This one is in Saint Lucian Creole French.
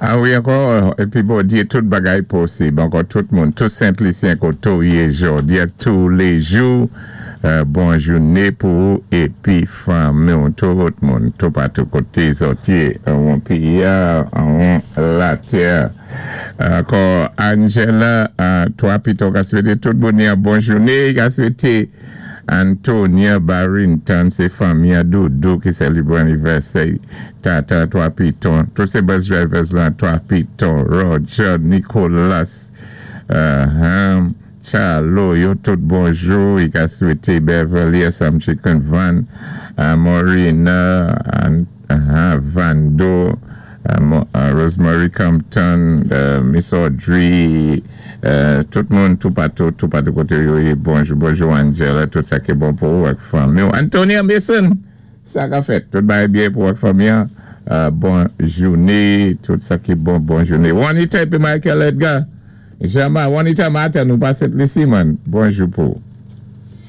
A wi, ankò, épi Bondyé, tout bagay posib. Ankò tout moun, tout Sent Lisyen koté ou yé jòdi-a, touléjou, bon jouné pou ou épi fanmi-w, tout moun, toupatou koté zòt yé, anwon péyi-a, anwon latè. Ankò Angela, 3 Piton ka swété tout moun yon bon jouné, ka swété Antonia Barrington, sé fanmi an Doudou ki sélébwé anivèsè Tata 3 Piton, tout sé bus drivers lan 3 Piton, Roger, Nicolas, Charlo, yo tout bonjou. I ka swété Beverly, Sam Chicken Van, Morina, Vando, Rosemary Compton, Miss Audrey, tout moun toupatou, toupatou koté yo yé, bonjou, bonjou Angela, tout sa ki bon pou ou ak fanmi ou. Antonia Mason, sa ka fèt, tout bagay byen pou ak fanmi an, bon jouné, tout sa ki bon, bon jouné. Juanita épi Michael Edgar, Jama, Juanita Martin, nou pa Sent Lisi man, bonjou pou ou.